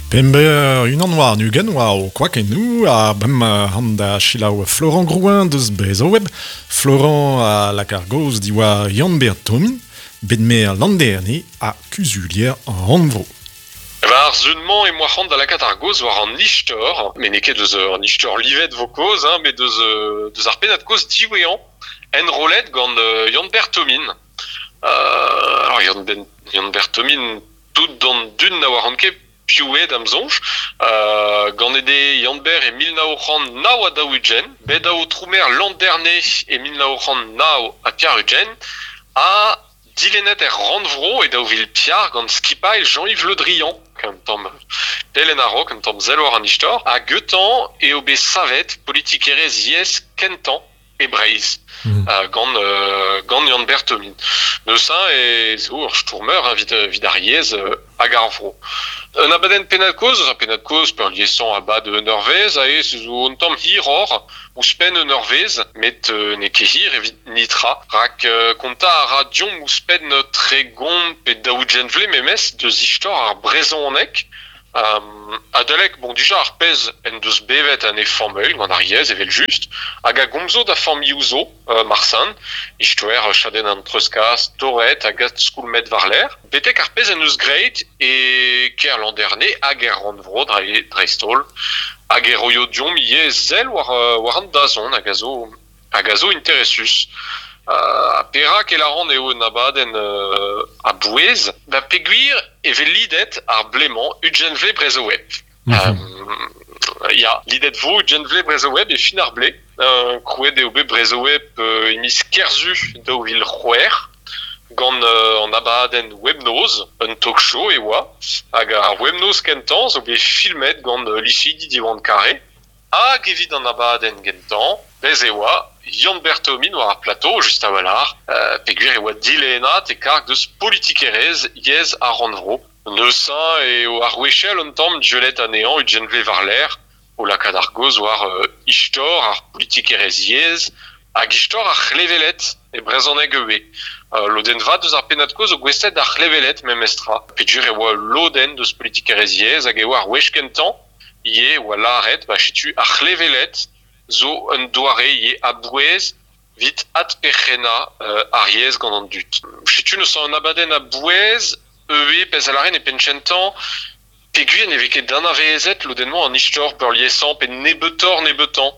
Pemp unan war 20 oa o kwakennoù ha bremañ han da selaou Florent Grouin deus Brezhoweb. Florent a lak ar gaoz diwar Yann-Ber Thomin, bet maer Landerne ha kuzulier rannvro. Ba ar sun-mañ emañ c'hoant da lakaat ar gaoz war an istor, met n'eo ket deus an istor livet vo kaoz, hein, met deus, deus ar pennad-kozh diwezhañ enrollet gant Yann-Ber Thomin. Alors Yann-Ben, Yann-Ber Thomin, tout d'an dud na oaran ket piv eo da'm soñj. Ganet eo Yann-Ber e 1949, bet aotrou-maer Landerne e 1989 ha dilennet er rannvro e 2004 gant skipailh Jean-Yves Le Drian, un tamm pell en a-raok, un tamm sell war an istor, ha gantañ eo bet savet politikerezh yezh kentañ e Breizh gant gant Yann-Ber Thomin. Neuze ez eo ur stourmer evit evit ar yezh hag ar vro. Un abadenn pennad-kozh eus ar pennad-kozh peurliesañ a-bad un eurvezh aze zo un tamm hiroc'h, ouzhpenn un eurvezh, met n'eo ket hir evit netra, rak kontañ a ra deomp ouzhpenn 30 pe 40 vloaz memes deus istor ar brezhoneg. Adalek, bon dija ar pezh en deus bevet en e familh gant ar yezh evel-just, hag a gomzo da familhoù zo, marsan, istoer chadenn an treuzkas, torret hag adskoulmet war-lerc'h, betek ar pezh en deus graet e kêr Landerne hag er rannvro dreist-holl, hag e roio deomp ivez sell war, war an dazont hag a zo hag a zo interesus. Perak e lâran eo un abadenn a-bouez? Ba peogwir e vez lidet ar blez-mañ 20 vloaz Brezhoweb. Ya, lidet vo 20 vloaz Brezhoweb e fin ar blez. Krouet eo bet Brezhoweb e miz Kerzu 2006 gant an abadenn Webnoz, un talk-show e oa, hag ar Webnoz kentañ zo bet filmet gant liseidi Diwan Kare. Hag evit an abadenn gentañ, bez e oa Yann-Ber Thomin war ar plato, just a-walc'h, peogwir e oa dilennad e karg deus politikerezh yezh ar rannvro. Neuze eo ar wechell un tamm dieullet anezhañ 20 vloaz war-lerc'h, o lakaat ar gaoz war istor ar politikerezh yezh hag istor ar c'hleveled e brezhoneg ivez. Lodenn vat eus ar pennad-kozh zo gouestlet d'ar c'hleveled memestra, peogwir e oa ul lodenn deus politikerezh yezh hag e oa ar wech kentañ ivez e oa lâret ba setu ar c'hleveled zo un doare ivez a-bouez evit adperc'hennañ ar yezh gant an dud. Setu neuze un abadenn a-bouez ivez pezh a lâren e penn-kentañ peogwir ne vez ket anavezet lodenn-mañ an istor peurliesañ pe nebeutoc'h-nebeutañ.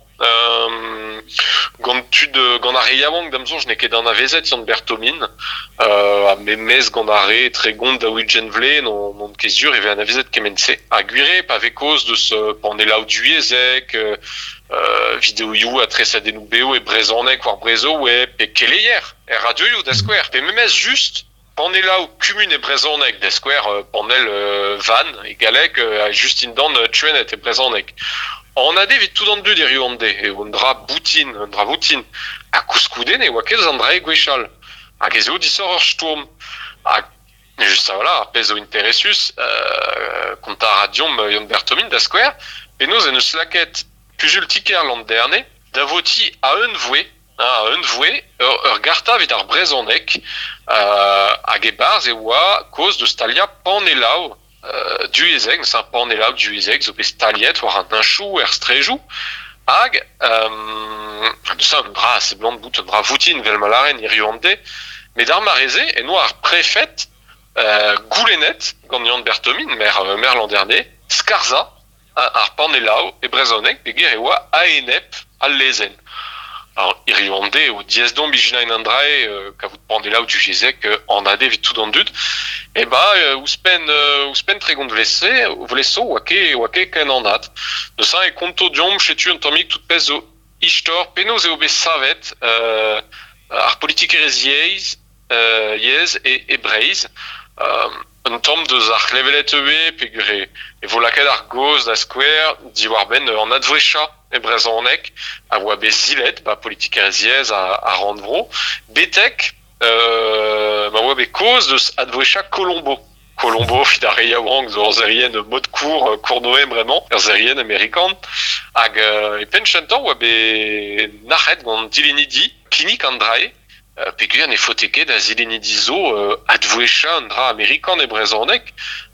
Gant tud gant ar re yaouank da'm soñj n'eo ket anavezet Yann-Ber Thomin ha memes gant ar re 30 40 vloaz n'on ket sur e vez anavezet kement-se. Ha gwir eo pa vez kaoz deus panelloù divyezhek, videoioù ha tresadennoù-bev e brezhoneg war Brezhoweb pe keleier er radioioù da skouer pe memes just Panelloù kumun e brezhoneg, da skouer panell Vannes e galleg ha just dindan Tchuenet e brezhoneg. Anat eo evit tout an dud hiziv an deiz eo un dra boutin, un dra voutin. Ha koulskoude ne oa ket eus an dra-se gwechall. Hag ez eo disoc'h ur stourm. Ha just a-walc'h, ar pezh zo interesus, kontañ a ra deomp Yann-Ber Thomin da skouer, penaos en deus lakaet kuzul ti-kêr Landerne da votiñ a-unvouezh A-unvouezh ur garta evit ar brezhoneg hag e-barzh e oa kaoz deus staliañ panelloù divyezhek, neuze panelloù divyezhek zo bet staliet war an heñchoù er straejoù hag neuze un dra a seblant bout un dra voutin evel ma lâren hiziv an deiz, met ar mare-se en oa ar prefed goulennet gant Yann-Ber Thomin, maer Landerne, skarzhañ ar panelloù e brezhoneg peogwir e oa a-enep al lezenn. Alors, hiziv an deiz eo diaes deomp ijinañ an dra-se, kavout panelloù divyezhek anat evit tout an dud. E ba ouzhpenn ouzhpenn 30 vloaz-se vloaz zo oa ket oa ket ken anat. Neuze e konto deomp setu un tammig tout pezh zo istor penaos eo bet savet ar politikerezh yezh yezh e Breizh. Un tamm deus ar c'hleveled ivez peogwir e vo lakaet ar gaoz da skouer diwar-benn an advrechañ e brezhoneg a oa bet silet ba politikerezh yezh ar rannvro betek ma oa bet kaoz deus advrechañ Colombo. Colombo evit ar re yaouank zo ur serienn mod court Cournoe bremañ, ur serienn amerikan. Hag e penn kentañ oa bet nac'het gant dilennidi kinnig an dra-se Peogwir ne faote ket da zilennidi zo advouezhañ un dra amerikan e brezhoneg,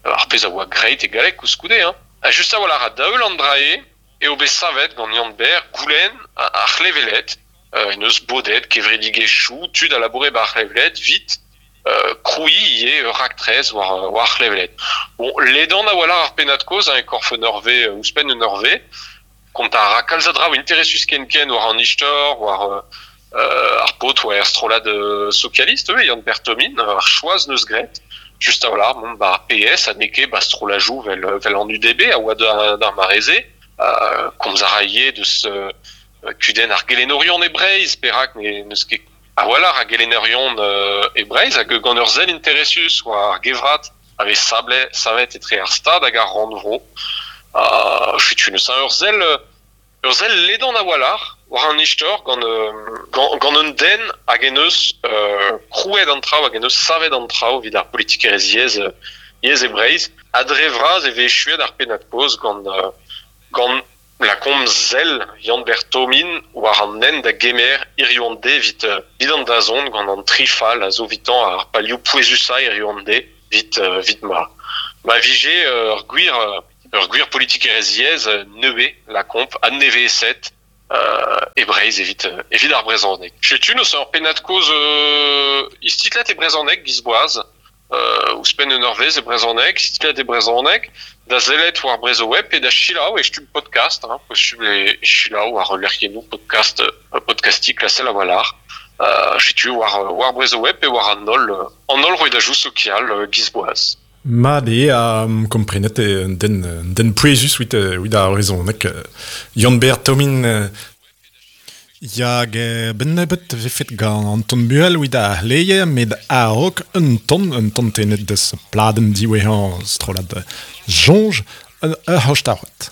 ar pezh a oa graet e galleg koulskoude. Hein. Ha just a-walc'h a daol an drae eo bet savet gant Yann-Ber goulenn ar c'hleveled, en eus bodet kevredigezhioù tud a laboure ba ar c'hleveled 'vit krouiñ ivez ur raktres war war ar c'hleveled. Bon, ledan a-walc'h ar pennad-kozh hein, e korf un eurvezh, ouzhpenn un eurvezh. Kontañ a ra kalz a draoù interesus ken-ken war an istor, war ar paotr war er strollad sokialist ivez, Yann-Ber Thomin, ar choaz 'neus graet. Just a-walc'h mont 'ba ar PS ha n'eo ket 'ba strollajoù 'vel 'vel an UDB a oa d'ar mare-se. Komz a ra ivez deus kudenn ar gelennourion e Breizh, perak n'eus ket a-walc'h a gelennerion e Breizh hag gant ur sell interesus war ar gevrat a vez savet etre ar Stad hag ar Rannvro. Setu neuze ur sell ur sell ledan a-walc'h war an istor gant gant un den hag en deus krouet an traoù hag en deus savet an traoù evit ar politikerezh yezh yezh e Breizh. Ha dre vras e vez echuet ar pennad-kozh gant gant Lakaomp sell Yann-Ber Thomin war an hent da gemer hiziv an deiz evit evit an dazont gant an tri fal a zo evitañ ar palioù pouezusañ hiziv an deiz evit evit ma ma vije ur gwir ur gwir politikerezh yezh nevez lakaomp adneveset e Breizh evit evit ar brezhoneg. Setu neuze ur pennad-kozh istitlet e brezhoneg giz boaz. Ouzhpenn un eurvezh e brezhoneg, istitlet e brezhoneg, da sellet war Brezhoweb pe da selaou e stumm podcast, hein, posubl eo selaou war lec'hiennoù podcast podcastiñ klasel a-walc'h. Setu war war Brezhoweb pe war an holl an holl rouedajoù sokial giz boaz. Mat eo ha komprenet eo un den un den pouezus evit evit ar brezhoneg. Yann-Ber Thomin Ya, hag benn nebeut e vefet gant Anton Buhel evit ar c'hleier met a-raok un ton, un ton tennet deus pladenn diwezhañ strollad Soñj ur c'hostaouad.